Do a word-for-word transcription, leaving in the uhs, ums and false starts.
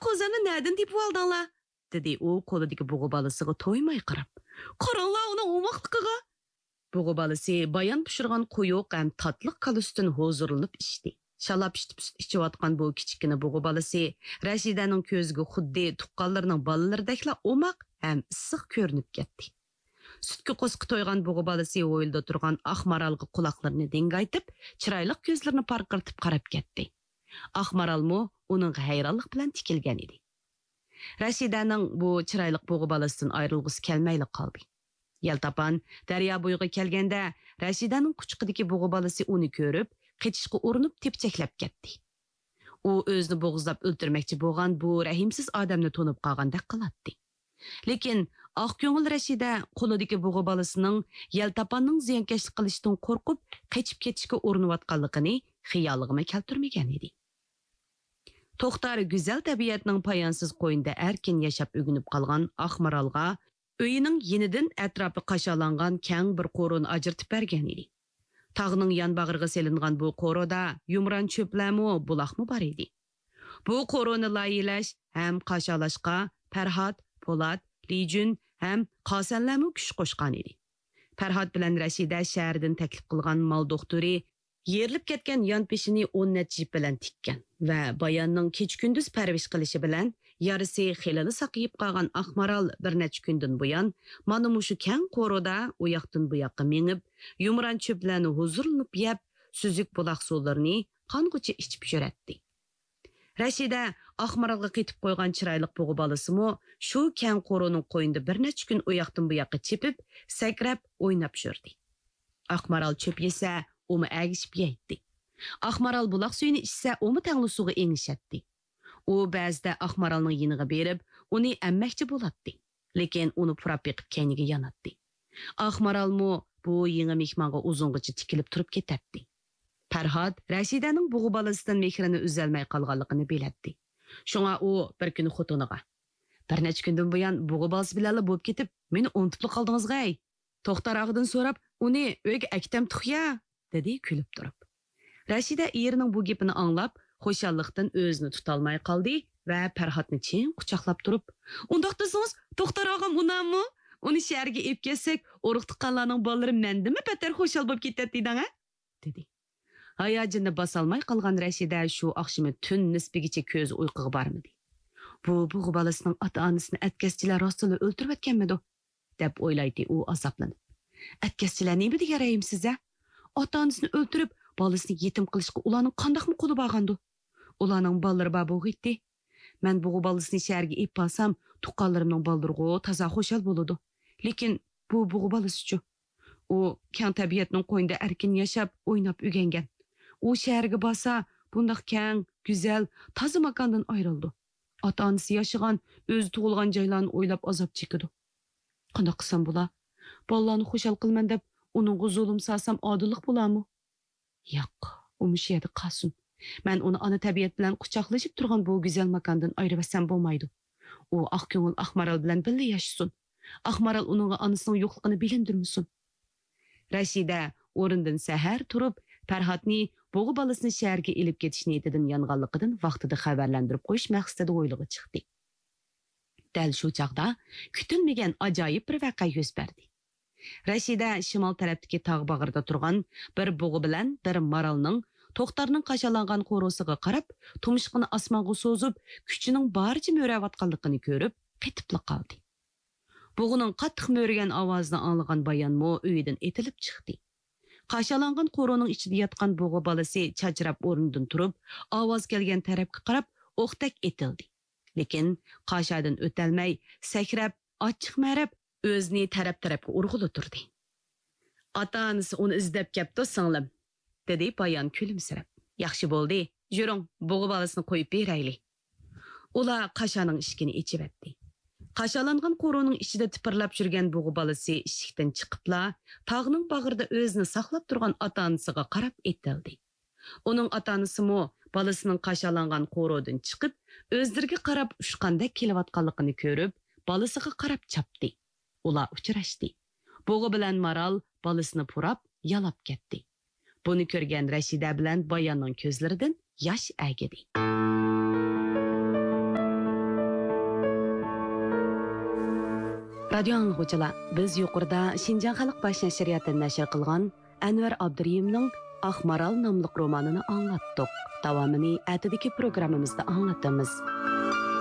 قوزامنى نەدىن تېپىۋالدىڭلار؟" دېدى ئۇ قولىدىكى بۇغا بالىسىغا تويماي قاراپ. «قاراڭلار ئۇنىڭ ئوماقلىقىغا!» بۇغا بالىسى بايان پىشۇرغان قويۇق ھەم تاتلىق كالا سۈتىنى ھۇزۇرلىنىپ ئىچتى. شالاپ ئىشتىپ سۈت ئىچىۋاتقان بۇ كىچىككىنە بۇغا بالىسى رەشىدەنىڭ كۆزىگە خۇددى تۇغقانلىرىنىڭ بالىلىرىدەكلا ئوماق ھەم ئىسسىق كۆرۈنۈپ كەتتى. سۈتكە قورسىقى تويغان بۇغا بالىسى ھويلىدا تۇرغان ئاق مارالغا قۇلاقلىرىنى دىڭگايتىپ، چىرايلىق كۆزلىرىنى پارقىرىتىپ قاراپ كەتتى. ئاق مارالمۇ ئۇنىڭغا ھەيرانلىق بىلەن تىكىلگەن ئىدى. رەشىدەنىڭ بۇ چىرايلىق بۇغا بالىسىدىن ئايرىلغۇسى كەلمەيلا قالدى. يەلتاپان دەريا بويىغا كەلگەندە، رەشىدەنىڭ قۇچىقىدىكى بۇغا بالىسى ئۇنى كۆرۈپ، قېچىشقا ئۇرۇنۇپ تېپچەكلەپ كەتتى. ئۇ ئۆزىنى بوغۇزلاپ ئۆلتۈرمەكچى بولغان بۇ رەھىمسىز ئادەمنى تونۇپ قالغاندەك قىلاتتى. لېكىن ئاق كۆڭۈل رەشىدە قولىدىكى بۇغا بالىسىنىڭ يەلتاپاننىڭ زىيانكەشلىك قىلىشىدىن قورقۇپ، قېچىپ كېتىشكە ئۇرۇنۇۋاتقانلىقىنى خىيالىغىمۇ كەلتۈرمىگەن ئىدى. توختار گۈزەل تەبىئەتنىڭ پايانسىز قوينىدا ئەركىن ياشاپ ئۆگىنىپ قالغان ئاق مارالغا ئۆيىنىڭ يېنىدىن ئەتراپى قاشالانغان كەڭ بىر قورۇنى ئاجرىتىپ بەرگەن ئىدى. تاغنىڭ يان باغرىغا سېلىنغان بۇ قورۇدا يۇمران چۆپلەرمۇ، بۇلاقمۇ بار ئىدى. بۇ قورۇنى لايىھەلەش ھەم قاشالاشقا پەرھات، پولات، لىجۈن ھەم قاسەنلەرمۇ كۈچ قوشقان ئىدى. پەرھات بىلەن رەشىدە شەھەردىن تەكلىپ قىلغان مال دوختۇرى يېرىلىپ كەتكەن يان پېشىنى ئون نەچچە يىپ بىلەن تىككەن ۋە باياننىڭ كېچە-كۈندۈز پەرۋىش قىلىشى بىلەن يارىسى خېلىلا ساقىيىپ قالغان ئاق مارال بىر نەچچە كۈندىن بۇيان مانا مۇشۇ كەڭ قورۇدا ئۇ ياقتىن بۇ ياققا مېڭىپ، يۇمران چۆپلەرنى ھۇزۇرلىنىپ يەپ، سۈزۈك بۇلاق سۇلىرىنى قانغۇچە ئىچىپ يۈرەتتى. رەشىدە ئاق مارالغا قېتىپ قويغان چىرايلىق بۇغا بالىسىمۇ شۇ كەڭ قورۇنىڭ قوينىدا بىر نەچچە كۈن ئۇ ياقتىن بۇ ياققا چېپىپ، سەكرەپ، ئويناپ يۈردى. ئاق مارال چۆپ يېسە، ئۇمۇ ئەگىشىپ يەيتتى. ئاق مارال بۇلاق سۈيىنى ئىچسە، ئۇمۇ تەڭلا سۇغا ئېڭىشەتتى. ئۇ بەزىدە ئاق مارالنىڭ يېنىغا بېرىپ، ئۇنى ئەممەكچى بولاتتى. لېكىن ئۇنى پۇراپ بېقىپ كەينىگە ياناتتى. ئاق مارالمۇ بۇ يېڭى مېھمانغا ئۇزۇنغىچە تىكىلىپ تۇرۇپ كېتەتتى. پەرھات رەشىدەنىڭ بۇغا بالىسىدىن مېھرىنى ئۈزەلمەي قالغانلىقىنى بىلەتتى. شۇڭا ئۇ بىر كۈنى خوتۇنىغا، «بىر نەچچە كۈندىن بۇيان بۇغا بالىسى بىلەنلا بولۇپ كېتىپ، مېنى ئۇنتۇپلا قالدىڭىزغۇ ھەي! توختار ئاغىدىن سوراپ، ئۇنى ئۆيگە ئەكېتەمتۇق يا؟» دېدى كۈلۈپ تۇرۇپ. رەشىدە ئېرىنىڭ بۇ گېپىنى ئاڭلاپ، خۇشاللىقتىن ئۆزىنى تۇتالماي قالدى ۋە پەرھاتنى چىڭ قۇچاقلاپ تۇرۇپ، «ئۇنداق دېسىڭىز، توختار ئاغام ئۇنامۇ؟ ئۇنى شەھەرگە ئېلىپ كەتسەك، ئۇرۇق-تۇغقانلارنىڭ بالىلىرى مەندىنمۇ بەتتەر خۇشال بولۇپ كېتەتتى دەڭە!» دېدى. ھاياجىنىنى باسالماي قالغان رەشىدە شۇ ئاخشىمى تۈن نىسپىگىچە كۆزى ئۇيقۇغا بارمىدى. «بۇ بۇغا بالىسىنىڭ ئاتا-ئانىسىنى ئەتكەسچىلەر راستتىنلا ئۆلتۈرۈۋەتكەنمىدۇ؟» دەپ ئويلايتتى ئۇ ئازابلىنىپ. «ئەتكەسچىلەر نېمە دېگەن رەھىمسىز-ھە؟ ئاتا-ئانىسىنى ئۆلتۈرۈپ، بالىسىنى يېتىم قىلىشقا ئۇلارنىڭ قانداقمۇ قولى بارغاندۇ؟ ئۇلارنىڭ بالىلىرى بار بولغىيتتى. مەن بۇغا بالىسىنى شەھەرگە ئېلىپ بارسام، تۇغقانلىرىمنىڭ بالىلىرىغۇ تازا خۇشال بولىدۇ. لېكىن بۇ بۇغا بالىسىچۇ؟ ئۇ كەڭ تەبىئەتنىڭ قوينىدا ئەركىن ياشاپ، ئويناپ ئۆگەنگەن. ئۇ شەھەرگە بارسا، بۇنداق كەڭ، گۈزەل، تازا ماكاندىن ئايرىلىدۇ. ئاتا-ئانىسى ياشىغان، ئۆزى تۇغۇلغان جايلارنى ئويلاپ ئازاب چېكىدۇ. قانداق قىلسام بولا؟ بالىلارنى خۇشال قىلىمەن دەپ، ئۇنىڭغا زۇلۇم سالسام، ئادىللىق بولارمۇ؟ ياق، ئۇ مۇشۇ يەردە قالسۇن. مەن ئۇنى ئانا تەبىئەت بىلەن قۇچاقلىشىپ تۇرغان بۇ گۈزەل ماكاندىن ئايرىۋەتسەم بولمايدۇ. ئۇ ئاق كۆڭۈل ئاق مارال بىلەن بىللە ياشىسۇن. ئاق مارال ئۇنىڭغا ئانىسىنىڭ يوقلۇقىنى بىلىندۈرمىسۇن.» رەشىدە ئورنىدىن سەھەر تۇرۇپ، پەرھاتنى بۇغا بالىسىنى شەھەرگە ئېلىپ كېتىش نىيىتىدىن يانغانلىقىدىن ۋاقتىدا خەۋەرلەندۈرۈپ قويۇش مەقسىتىدە ھويلىغا چىقتى. دەل شۇ چاغدا كۈتۈلمىگەن ئاجايىپ بىر ۋەقە يۈز بەردى. رەشىدە شىمال تەرەپتىكى تاغ باغرىدا تۇرغان بىر بۇغا بىلەن بىر مارالنىڭ توختارنىڭ قاشالانغان قورۇسىغا قاراپ، تۇمشۇقىنى ئاسمانغا سوزۇپ، كۈچىنىڭ بارىچە مۆرەۋاتقانلىقىنى كۆرۈپ، قېتىپلا قالدى. بۇغىنىڭ قاتتىق مۆرىگەن ئاۋازىنى ئاڭلىغان بايانمۇ ئۆيىدىن ئېتىلىپ چىقتى. قاشالانغان قورۇنىڭ ئىچىدە ياتقان بۇغا بالىسى چاچراپ ئورنىدىن تۇرۇپ، ئاۋاز كەلگەن تەرەپكە قاراپ ئوقتەك ئېتىلدى. لېكىن قاشادىن ئۆتەلمەي، سەكرەپ، ئاچچىق مەرەپ، ئۆزىنى تەرەپ-تەرەپكە ئۇرغىلى تۇردى. «ئاتا-ئانىسى ئۇنى ئىزدەپ كەپتۇ، سىڭلىم.» دېدى بايان كۈلۈمسىرەپ. «ياخشى بولدى، يۈرۈڭ، بۇغا بالىسىنى قويۇپ بېرەيلى.» ئۇلار قاشانىڭ ئىشىكىنى ئېچىۋەتتى. قاشالانغان قورۇنىڭ ئىچىدە تىپىرلاپ يۈرگەن بۇغا بالىسى ئىشىكتىن چىقىپلا، تاغنىڭ باغرىدا ئۆزىنى ساقلاپ تۇرغان ئاتا-ئانىسىغا قاراپ ئېتىلدى. ئۇنىڭ ئاتا-ئانىسىمۇ بالىسىنىڭ قاشالانغان قورۇدىن چىقىپ، ئۆزلىرىگە قاراپ ئۇچقاندەك كېلىۋاتقانلىقىنى كۆرۈپ، بالىسىغا قاراپ چاپتى. ئۇلار ئۇچراشتى. بۇغا بىلەن مارال بالىسىنى پۇراپ، يالاپ كەتتى. بۇنى كۆرگەن رەشىدە بىلەن باياننىڭ كۆزلىرىدىن ياش ئەگىدى. رادىيو ئاڭلىغۇچىلار، بىز يۇقىرىدا شىنجاڭ خەلق باش نەشرىياتى نەشر قىلغان ئەنۋەر ئابدۇرېھىمنىڭ ئاق مارال ناملىق رومانىنى ئاڭلاتتۇق. داۋامىنى ئەتىدىكى پروگراممىمىزدا ئاڭلىتىمىز.